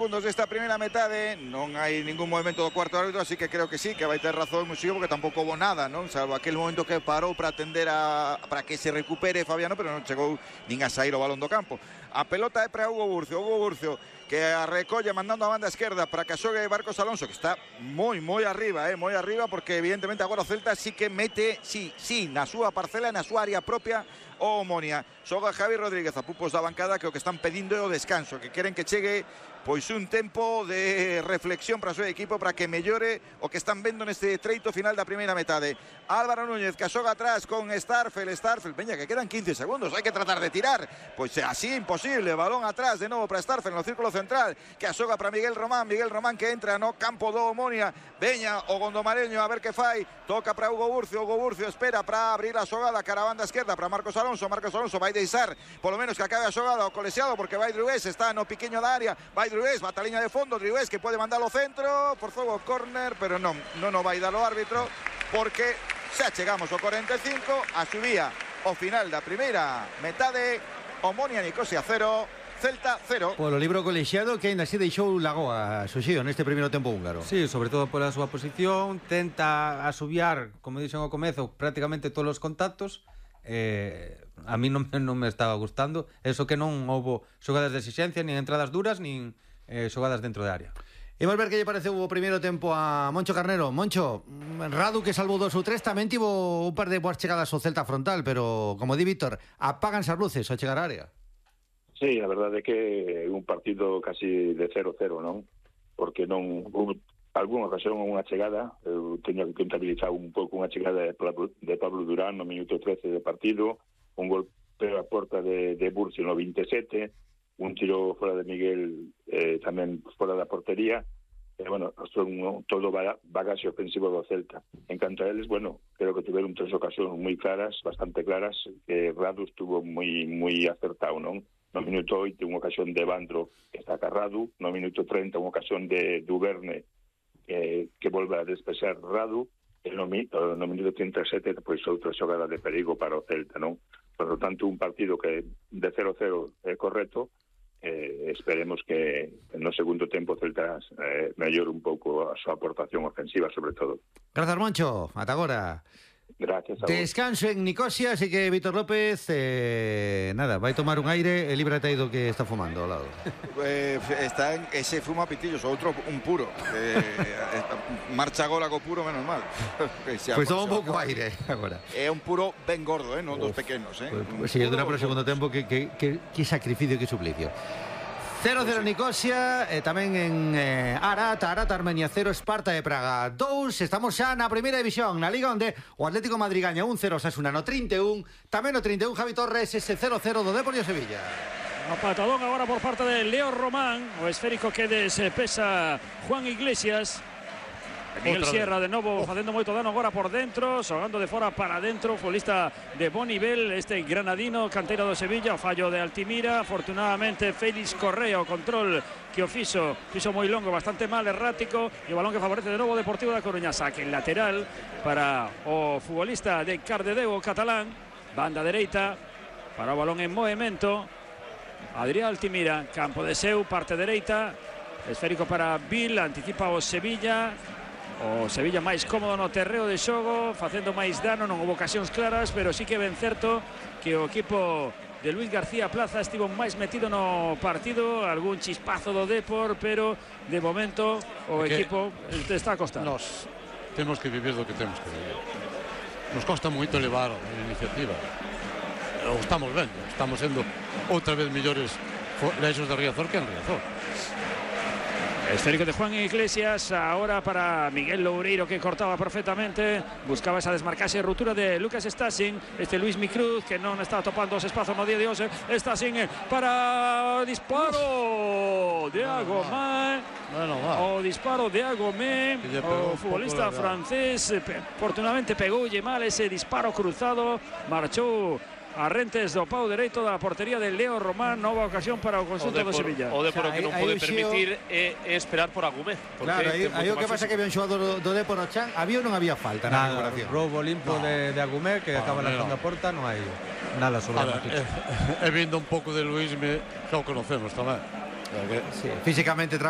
Segundos desta primeira metade, non hai ningún movimento do cuarto árbitro, así que creo que sí, que vai ter razón Muxío, porque tampouco houve nada, non? Salvo aquel momento que parou para atender para que se recupere Fabiano, pero non chegou nin a sair o balón do campo. A pelota é para Hugo Burcio, que a recolle mandando a banda esquerda para que xogue Marcos Alonso, que está moi arriba, porque evidentemente agora o Celta sí que mete, sí, na súa parcela, na súa área propia, o Omonia. Xoga Javi Rodríguez, a pupos da bancada, que o que están pedindo é o descanso, que queren que chegue pois un tempo de reflexión para o seu equipo, para que mellore o que están vendo neste treito final da primeira metade. Álvaro Núñez, que xoga atrás con Starfel, veña, que quedan 15 segundos, hai que tratar de tirar, pois así imposible, balón atrás de novo para Starfel no círculo central, que a xoga para Miguel Román que entra no campo do Omonia, veña o Gondomareño a ver que fai, toca para Hugo Burcio espera para abrir a xogada cara a banda esquerda para Marcos Alonso vai deixar polo menos que acabe a xogada o colexiado, porque vai Drués, está no piqueño da área, vai Drués, bata a liña de fondo, Drués que pode mandar ao centro, por fogo córner, pero non o vai dar o árbitro, porque xa chegamos ao 45, a subía o final da primeira metade, Omonia Nicosia 0, Celta 0. Polo libro colexiado que ainda así deixou Lagoa Xoxío neste primeiro tempo húngaro. Sí, sobre todo pola súa posición, tenta asubiar, como dixen ao comezo, prácticamente todos os contactos. A mí non me estaba gustando eso, que non houbo xogadas de exigencia, nin entradas duras, nin xogadas dentro de área. Imos ver que lle pareceu o primeiro tempo a Moncho Carnero. Moncho, Radu, que salvou 2 ou 3, tamén tivo un par de boas chegadas ao Celta frontal, pero, como di Víctor, apáganse as luces ao chegar á área. Sí, a verdade é que é un partido casi de 0-0, non? Porque non algunha ocasión unha chegada, eu teño que contabilizar un pouco unha chegada de Pablo Durán no minuto 13 de partido, un golpe a porta de Burcio no 27, un tiro fora de Miguel tamén fora da portería, bueno, son todo bagaxe ofensivo do Celta. En canto a eles, bueno, creo que tiveron 3 ocasións moi claras, bastante claras, que Radu estuvo moi acertado, non? No minuto 8 unha ocasión de Bandro que está carrado, no minuto 30 unha ocasión de Duverne que volve a despexar Radu, e no minuto 37 pois outra xogada de perigo para o Celta, non? Por lo tanto, un partido que de 0-0 é correcto. Esperemos que no segundo tempo Celta mellore un pouco a súa aportación ofensiva, sobre todo. Grazas, Moncho, ata agora. Gracias a vos. Descanso en Nicosia, así que Víctor López nada, vai tomar un aire e líbrate aí do que está fumando ao lado. Está ese fumo a pitillos, outro un puro, marcha agora co puro, menos mal. Pois toma un pouco aire agora. É un puro ben gordo, non dos pequenos, Si, dura para o segundo tempo, que sacrificio, que suplicio. 0-0 Nicosia, tamén en Arata Armenia 0, Esparta de Praga 2. Estamos xa na primeira división, na Liga, onde o Atlético Madrid gaña 1-0 Osasuna no 31. Tamén no 31 Javi Torres, ese 0-0 do Deportivo Sevilla. A patadón agora por parte de Leo Román, o esférico que despesa Juan Iglesias. Miguel Sierra de novo facendo moito dano agora por dentro, xogando de fora para dentro, futbolista de bon nivel, este granadino, canteira do Sevilla, o fallo de Altimira. Afortunadamente Félix Correa, o control que o fixo moi longo, bastante mal, errático, e o balón que favorece de novo o Deportivo da Coruña. Saque en lateral para o futbolista de Cardedeu, o catalán, banda dereita para o balón en movimento, Adrián Altimira, campo de seu, parte dereita, esférico para Bill, anticipa o Sevilla. O Sevilla máis cómodo no terreo de xogo, facendo máis dano, non houve ocasións claras, pero sí que ben certo que o equipo de Luis García Plaza estivo máis metido no partido, algún chispazo do Depor, pero de momento o equipo está a costar. Nos temos que vivir do que temos que vivir. Nos costa moito elevar a iniciativa. O estamos vendo, estamos sendo outra vez mellores leixos de Riazor que en Riazor. Esférico de Juan Iglesias, ahora para Miguel Loureiro, que cortaba perfectamente, buscaba esa desmarcaxe e ruptura de Lucas Stasin, este Luis Micruz, que non está topando os espazos no día de hoxe. Stasin para disparo de Agomé, o disparo de Agomé, o futbolista francés, afortunadamente pegoulle mal ese disparo cruzado, marchou a rentes do pau dereito da portería de Leo Román. Nova ocasión para o conxunto do Sevilla. O Depor que non pode permitir é esperar por Agumé. Claro, aí o que pasa que había un xogador do Depor no chan, había ou non había falta na recuperación. Roubo limpo de Agumé, que acaba lanzando a porta, non hai nada sobre a noticia. E vindo un pouco de Luís, que o conocemos tamén. Físicamente trabalha